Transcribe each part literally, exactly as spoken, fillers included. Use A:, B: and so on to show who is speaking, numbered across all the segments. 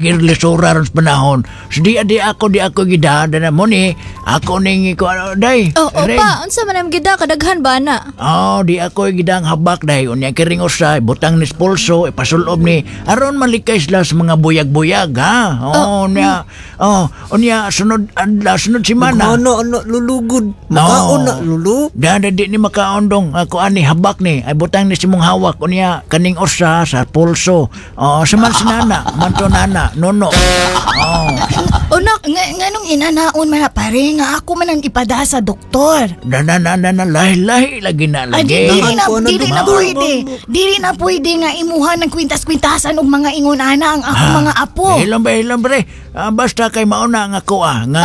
A: Lisura ron sa panahon. So di di ako di ako gida na mo ni ako ning ko ano day.
B: Oh,
A: Ren.
B: opa, unsa man ang gida kadaghan ba na?
A: Oh, di ako gidang habak dahil unya kiring usa butang ni spulso ipasulob ni aron malikay sila sa mga buyag-buyag ha. Oh, unya. Oh, unya sunod adlaw sunod semana.
C: Ano ano lulugod. Makaon na lulu.
A: Dada di ni makaondong ako ani habak ni ay butang ni simong hawak unya kaning usa sa pulso. Oh, sa man sinana, manto nana, nono. Oh,
B: Unak,
D: Nga, nganong inanaon man na pare nga ako man ang ipada sa doktor.
A: na na na na na lahi lahi lagi na
D: Ay,
A: lagi.
D: di, dili na,
C: Ko na
D: dili na
C: doktor.
D: pwede. Dili na pwede nga imuha ng kwintas-kwintasan og mga ingon ana ang akong mga apo.
A: Hilom ba, hilom bre. Ah, basta kay mauna nga ako ah. Nga,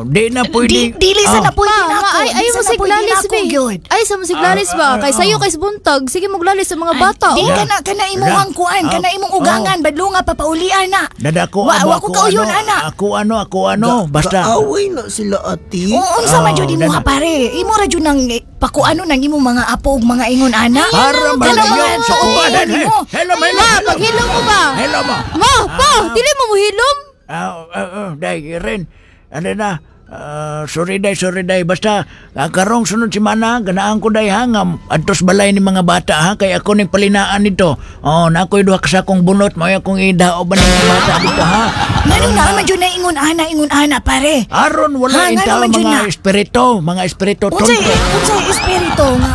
A: di na pwede.
D: Di, dili sa
A: Ah,
D: na pwede
B: ma,
D: na
B: ma,
D: ako.
B: ay
D: Di
B: ay
D: sa
B: mo
D: na pwede
B: siglalis
D: na ako,
B: be.
D: gyud.
B: Ay sa mo siglalis ba? Kay sayo kay buntag, sige moglalis sa mga bata.
D: Di
B: oh.
D: ka na kana imuhang kuan, kana imong ugangan badlo nga papaulian na.
A: Dada ako,
D: Wa,
A: amo,
D: wa ko
A: ako,
D: kauyon
A: ano,
D: ana.
A: Ako ano, ako ano, basta.
C: Kaaway na sila ati.
D: Oo, unsa man
A: Oh,
D: jud imuha
A: dada.
D: pare. Imo ra jud nang eh, pakuano nang imong mga apo ug mga ingon ana.
A: Para
D: Kana
A: malayo
D: mga
A: sa
D: tuo
A: kuwanan.
D: nimo.
A: Hello, hello,
B: Ma,
A: hello.
B: paghilom mo ba?
A: Hello mo.
B: Ma, pa, dili mo mohilom.
A: Ah, ah, ah, day, Ren. Ano na? Ah, sorry day, sorry day. Basta, ah, karong sunod si Mana, ganaan ko day ha, nga adtos balay ni mga bata ha, kay ako ning palinaan nito. Oh, na ako'y duha ka sa akong bunot, mao akong idao ba ng mga bata dito ha.
D: Ngano na man jud na ingon ana ingon ana pare.
A: Aron
D: Ha,
A: wala
D: ngano
A: intaw
D: man jud
A: mga
D: na?
A: espiritu, mga espiritu
D: Unsay
A: tonto.
D: unsay espiritu nga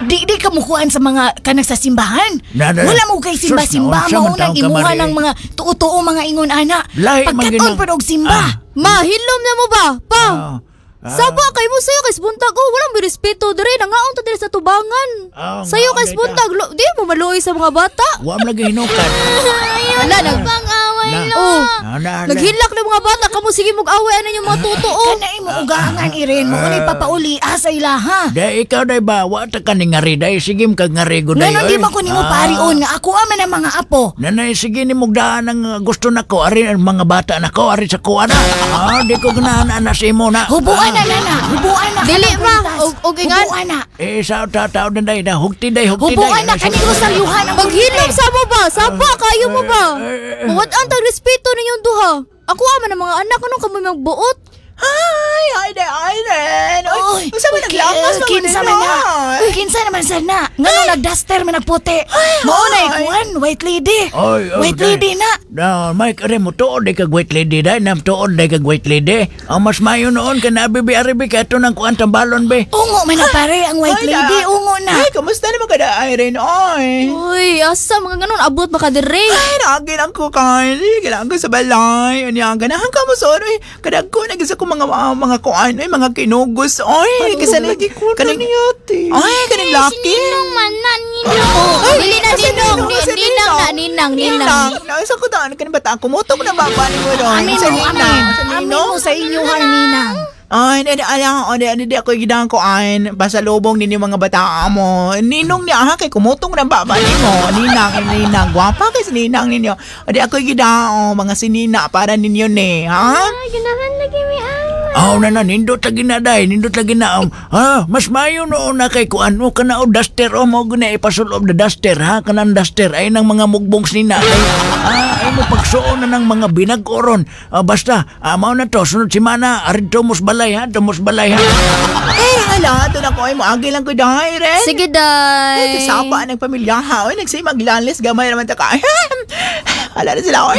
D: di di ka mukuan sa mga kanang sa simbahan.
A: Na, na, na.
D: Wala mo kay simba-simba
A: Sus, naunsa
D: mao
A: man
D: nang
A: taong
D: imuha
A: kamari,
D: ng
A: eh.
D: mga tuo-tuo mga ingon ana.
A: Lahi man
D: Pagkaton
A: ginang-
D: pa og simba.
A: Ah.
B: Ma, hilom na mo ba? Pa.
A: Ah, ah.
B: Saba kay mo sayo kay buntag oh, walang may respeto dire nangaon ta dire sa tubangan.
A: Ah,
B: Sayo
A: ngaon
B: kay
A: day ta.
B: buntag, lo- di mo maluoy sa mga bata.
A: Wa man lagi hinukan.
B: Ala nag
E: Pang-away
A: Na.
E: lo.
B: Oh.
A: Na, na, na.
B: Naghilak ng mga bata kamo sige mag-away ana yung mga totoo.
D: Kana imo ugangan iren mo ni papauli asa ilaha.
A: Day ikaw day ba wa ta ka ni ngari day sige kag ngari go day.
D: Ngano di
A: oy.
D: man ko nimo
A: Ah.
D: parion nga ako man ang mga apo.
A: Nanay, sige ni mugdaan ang uh, gusto nako ari ang mga bata nako ari sa kuha na. Ah, di ko ganahan ana sa imo na.
D: Hubuan na nana, hubuan na.
B: Dili,
D: kanang
B: ma.
D: kwintas.
B: Og- og ingan.
D: Hubuan na.
A: Eh sa tao na day na hugti day hugti day.
D: Hubuan na kaning rosaryuhan ang
B: Paghilom sa mo ba? Saba kayo mo ba? Mawad-an tag respeto ninyong duha. Ako ama ng mga anak anong kamo magbuot?
F: Hi! Hi there, Irene!
D: Oy,
F: Oy, unsa man naglakas
D: ki- kinsa man na. Kinsa naman sa na. Ngano nagduster man nagputi. Mao na ikuan, white lady.
A: Oy, oy,
D: White
A: day.
D: lady na.
A: No, Mike, are mo tuod day kag white lady day, nam tuod day kag white lady. Ang mas mayo noon ka na bibi ari bi kay ato nang kuan tambalon be.
D: Ungo man na pare ang white lady, ungo na.
F: Ay, kamusta naman ka da, Irene? Oy!
B: Uy, asa mga ganon abot ba ka dire?
F: Ay, naagin ang ko kay. Kailangan ko sa balay. Ano yan, ganahan ka mo, sorry. Kadagko, nagisa ko mga mga, mga kuan, oy, mga kinugos, oy. Kasi
C: lagi ko na
F: kaning,
C: ni ate.
F: Ay, kaning laki.
E: Ninong man na, ninong.
F: Ay,
B: Dili na
F: kasi
B: ninong,
F: ninong, kasi
B: ninang na ninang, ninang.
F: Ninang. Nasa ko daan, kaning bata, kumutok na ba ba ni mo doon?
D: Amin
F: Sa
D: mo,
F: ninang,
D: amin.
F: sa
D: Amin
F: ninong.
D: mo sa inyo hang ninang.
F: Ay, di, di, ala, o, di, di, di, ako gidang ko, ay, pasalubong ninyo mga bata mo. Ninong niya, ha, kay kumutong na ba, ba nimo? Ninang, ninang, gwapa kay sa ninang ninyo. O, di, ako gidang, o, mga sinina para ninyo ni, ha?
E: Ay, ganahan lagi mi ah.
A: Oh, na na nindot lagi na day, nindot lagi na. Um, ha, mas mayo noon na kay kuan mo kana o duster o mo guna ipasulob na duster ha kanang duster ay nang mga mugbong nina. Ay, ah, ay mo pagsuon na ng mga binag-oron. Ah, basta, ah, mao na to sunod semana ari tumos balay ha, tumos balay ha.
F: Eh, ala, doon ako, ay, moagi lang ko dahil, ren.
B: Sige day.
F: Ay, kasapa ng pamilya, ha? Oy, nagsimaglalis, gamay naman ta ka. Ay, ala na sila, oy.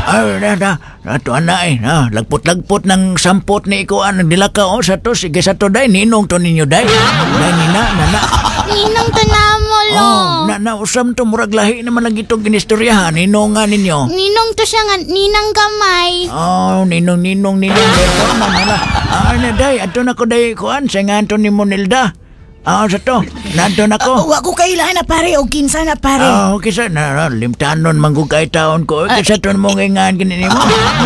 A: Ay, na na, ato ana eh, ha, lagpot-lagpot ng sampot ni ikuan nagdila ka oh sa to sige sa to day ninong to ninyo day. Day nina na na.
E: Ninong to na mo lo.
A: Oh, na na usam to murag lahi naman lagi itong ginistoryahan ninong nga ninyo.
E: Ninong to siya nga, ninang gamay.
A: Oh, ninong ninong ninong dito man hala. Ah, na day, ato na ko day kuan sa nga Anthony Monilda. Ah, sa to. Nanto na ko.
D: Wa ko kailan na pare og kinsa na pare.
A: Ah, okay sa na, na limtanon manggug kay taon ko. Okay sa to mo ngingan kini nimo.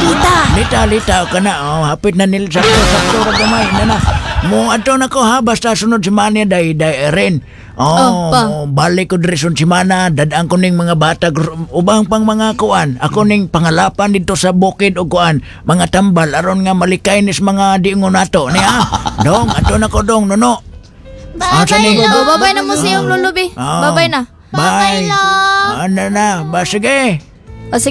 D: Lita.
A: Lita lita ka na. Oh, hapit na nil sakto sakto ra gamay na na. Mo ato na ko ha basta sunod si Mania day day rin.
B: Oh,
A: Oh,
B: pa.
A: mo, balik ko diri sunod semana dadaan ko ning mga bata gr- ubang pang mga kuan. Ako ning pangalapan dito sa bukid og kuan, mga tambal aron nga malikay nis mga diingon nato ni ha. Dong, ato na ko dong nono. Ah,
E: Bye-bye
A: sani?
E: lo.
B: Oh, babay na mo sa iyong lulubi.
A: Oh.
B: Babay na.
A: Bye.
E: Bye, lo.
A: Ano na, ba sige.
B: O sige.